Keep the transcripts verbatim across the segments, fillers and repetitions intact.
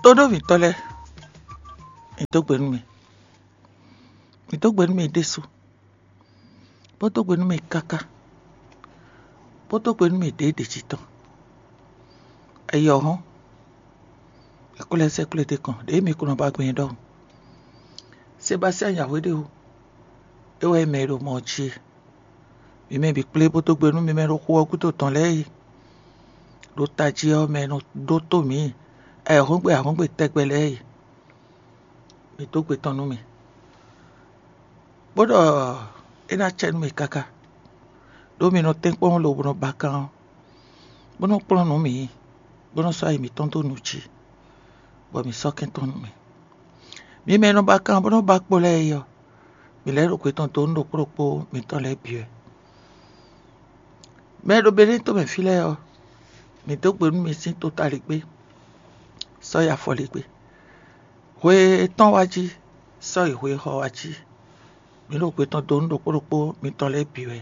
Tóɖó mǐtɔn lɛ́ɛ, mǐ dó gbe nú mì. Mǐ dó gbe nú mì ɖésú, bó dó gbe nú mì káká, bó dó gbe nú mì ɖěɖě jí tɔn. Ayɔ̌hɔ́n, è ko lɛ́ sɛ́ kplé ɖé kɔn, ɖěe mi ko nɔ ba gbɛn ɖɔhun. Sebastiyáan Yǎhweɖéwu, é wɛ nyí mɛ e ɖo mɔ ɔ́ jí e. Mi mɛ bǐ kplé bó dó gbe nú mi mɛ ɖo xu ɔ́ gúdo tɔn lɛ́ɛ e. Ɖo tají ɔ́ mɛ e nɔ ɖótó mǐ ayɔ̌hɔ́ngbe ayɔ̌hɔ́ngbe tɛgbɛ lɛ́ɛ e. Mi dó gbe tɔn nú mì, bó ɖɔ é ná cɛ nú mì káká, ɖó mi nɔ tɛ́nkpɔ́n lobo nɔ ba kan ɔ́, bó nɔ́ kplɔ́n nǔ mǐ, bó nɔ́ sɔ́ ayi mǐtɔn dó nǔ jí, bɔ mǐ sɔ́ kɛn tɔn nú mì. Mi mɛ e nɔ ba kan bó nɔ́ ba kpo lɛ́ɛ é ɔ́, mǐ lɛ́ ɖo gbe tɔn dó nú ɖokpó ɖokpó mitɔn lɛ́ɛ bǐ wɛ. Mɛ e ɖo Benɛ́ɛ to mɛ fí lɛ́ɛ ɔ́, mǐ dó gbe nú mi sín totaligbé, sɔ́ yi afɔligbé. Hwe e tɔ́n wá jí, sɔ́ yi hwe e xɔ wá jí. Mǐ ɖo gbe tɔn dó nú ɖokpó ɖokpó mitɔn lɛ́ɛ bǐ wɛ.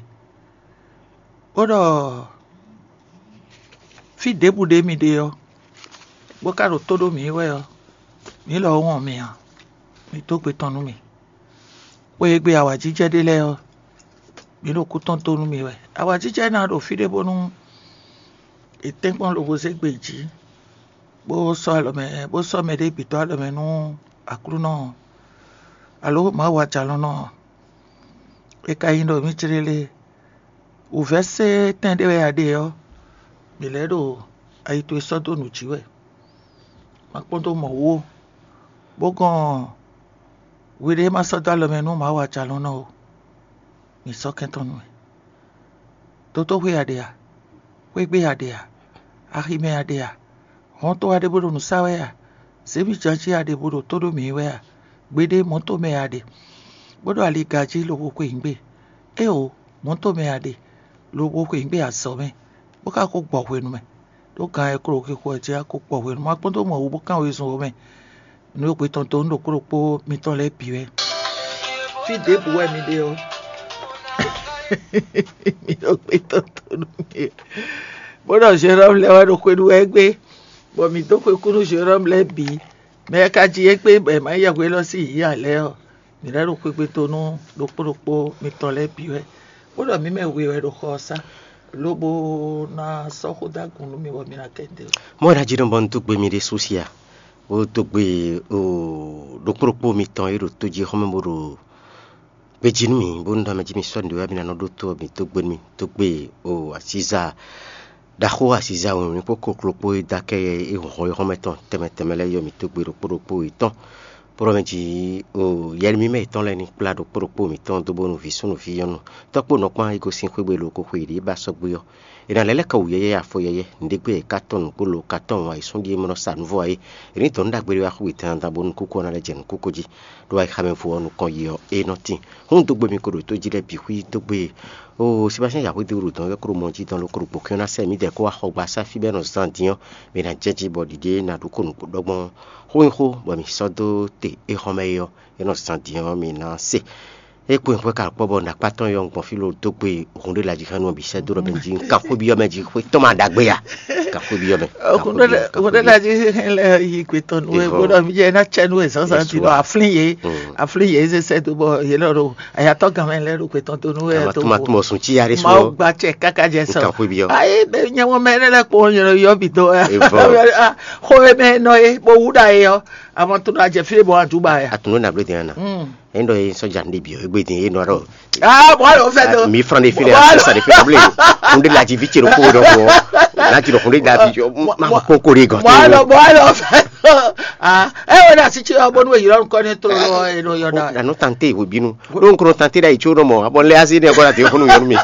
Bó ɖɔ fí ɖěbǔ ɖé mi ɖe ɔ́, bó ka ɖo tó ɖó mǐ wɛ ɔ́, mǐ lɔ wɔn mi ǎ. Mi dó gbe tɔn nú mì. Xwe e gbe awǎjijɛ ɖe lɛ́ɛ ɔ́, mǐ ɖo kú tɔn dó nú mi wɛ. Awǎjijɛ ná ɖo fí ɖé bónú è tɛ́nkpɔ́n lobo zé gbe jǐ, bó sɔ́ alɔ mɛ, bó sɔ́ mɛ ɖé bǐ dó alɔ mɛ nú Aklúnɔ ɔ́, alo Mawu ajǎlɔ́nɔ ɔ́. È ka nyi ɖɔ mǐ céɖélé, wǔvɛ́ sé tɛn ɖé wɛ a ɖe ɔ́, mǐ lɛ́ ɖo ayi towe sɔ́ dó nǔ jí wɛ. Ma kpɔ́n dó mɔ̌ wú ó, bó gɔn hwiɖée ma sɔ́ dó alɔ mɛ nú Mawu ajǎlɔ́nɔ ó. Mǐ sɔ́ kɛn tɔn nú mì. Dotóxwé a ɖe a? Xwégbé a ɖe a? Aximɛ a ɖe a? Hɔnto a ɖe bó ɖo nǔ sa wɛ a? Zěmijanjí a ɖe bó ɖo tó ɖó mǐ wɛ a? Gbeɖé mɔ̌ tomɛ a ɖe, bó ɖo ali ga jí lobo xwe nyǐgbe? Éeǒ, mɔ̌ tomɛ a ɖe, lobo xwe nyǐgbe azɔ̌ mɛ, bó ka ko gbɔ hwenu mɛ, ɖó gan e klo xixo ɛ jí a ko gbɔ hwenu ma kpɔ́n dó mɔ wú bó kán wezun ɔ́ mɛ. Nǔ e xwe tɔn dó nú ɖokpó ɖokpó mitɔn lɛ́ɛ bǐ wɛ. Fí ɖěbǔ wɛ mi ɖe ɔ́, mi ɖo xwe tɔn dó nú mì, bó ɖɔ Jérɔ́mu lɛ́ɛ wɛ ɖo xwe ɖu wɛ gbé, bɔ mǐ dó xwe kú nú Jérɔ́mu lɛ́ɛ bǐ. Mɛ e ka ji égbé bɔ è ma yí yɛhweɖɔ sín yǐyá lɛ́ɛ ɔ́, mǐ lɛ́ ɖo xwegbe dó nú ɖokpó ɖokpó mitɔn lɛ́ɛ bǐ wɛ, bó ɖɔ mǐ mɛ we wɛ ɖo xɔ ɔ́ sá, lobo ná sɔ́ xó dó agun nú mì bɔ mi ná kɛ ɖe ó. Mɔ̌ e ná jí nɔ bɔ un dó gbe mi ɖésú sí a? Bó dó gbe ɖokpó ɖokpó mitɔn e ɖo tójíxɔ́mɛ bó ɖo gbejí nú mì, bónú ɖɔ mɛ jí mi sɔ́ nǔɖé wɛ mi ná nɔ ɖótó ɔ́, mi dó gbe nú mì, dó gbe o asíza ɖaxó asíza wěwé kpó kokló kpó e dó akɛ e hɔn e hɔn mɛ tɔn tɛnmɛ tɛnmɛ lɛ́ɛ yɔ mi dó gbe ɖokpó ɖokpó yětɔn. Bó ɖɔ mɛ jí o yɛlɛ mímɛ yětɔn lɛ́ɛ ní kplá ɖokpó ɖokpó mǐtɔn dó bónú vǐ súnnu vǐ nyɔ́nu, tɔ́kpó nɔkpán e gosín xwé gbe ɖo ko xwe yě ɖíe ba sɔ́ gbé ɔ́, è nǎ lɛ́ lɛ́ kɔ wǔ yɛ́yɛ́ afɔ yɛ́yɛ́, nǔɖé gbé è ka tɔ́n nǔgbó lo ka tɔ́n wǎn yi sún ɖíe mɛ nɔ sa nǔ vɔ ǎ é. È nǐ dɔn nú ɖagbe ɖé wá xú yětɛn bó nukúnkún ɔ́ ná lɛ́ jɛ nǔkúnkún jí. Ɖó ayixa mɛ vo ɔ́ nukɔn yi ɔ́, é nɔ tíin. Hún dó gbe mi ko ɖo tó jí lɛ́ɛ bǐ xwí dó gbe. Oo, Sebastiyɛn Yǎhwédéwú ɖo dɔn wɛ kó ɖo mɔ jí dɔn ló kó ɖo gbǒ kɛ́n ná sɛ mǐdɛɛ kó wá xɔ gba sá fí bɔ é nɔ zán din ɔ́, mɛ ná jɛ jí bɔ ɖiɖe ná ɖó kó nǔgbó ɖɔgbɔn xó nyi xó bɔ mǐ sɔ́ dó te é xɔ́ mɛ é ɔ́, é nɔ zán din ɔ́, mǐ ná se. É kpo nyǐxwɛ ka kpɔ́ bɔ nǎkpá tɔn yɔ gbɔn fí ló dó gbe hun ɖé lajixɛ́nú ɔ́ bǐ sɛ́ dó ɖɔ mɛ jí un kan xwé byɔ́ mɛ jí xwé tɔn ma ɖagbe ya. Kan xwé byɔ́ mɛ. Hun ɖé lajixɛ́nú lɛ́ɛ yi gbe tɔn nú we bó ɖɔ mí jɛ ná cɛ nú we zǎnzǎn din ɖɔ aflín yě, aflín yě zé sɛ́ dó bɔ yě lɔ ɖo ayatɔ́ gan mɛ lɛ́ɛ ɖo gbe tɔn dó nú we tó mɔ sún cí yarí sún. Mawu gba cɛ káká jɛ sɔ. Kan xwé byɔ́. Ayi bɛ nyɛ mɔ mɛ lɛ́ɛ kpó nyɛ yɔ bì dó. Xó e mɛ nɔ ye bó wú ɖa ye ɔ́, amɔ tó ɖo ajɛ fí bɔ adúba ya. Atunu na blé dɛn na. Endo ye sɔja ne bi o egbe din ye nɔ ɖɔ. Ah, bɔ lo fɛ do. Mi fran de fi le, sa de fi le. N de la ji vi tse ɖo ko ɖɔ ko. Na ti ɖo kun de la vi. Ma ko ko de gɔ. Bɔ lo bɔ lo fɛ do. Ah, e wo na si tse bɔ nu yɔrɔ nkɔ ne tro lo e no yɔ na. Na no tante wo binu. Ɖo nkro tante ɖa yi tso ɖo mɔ abɔ lé asi ne kɔ na te funu yɔnu mi.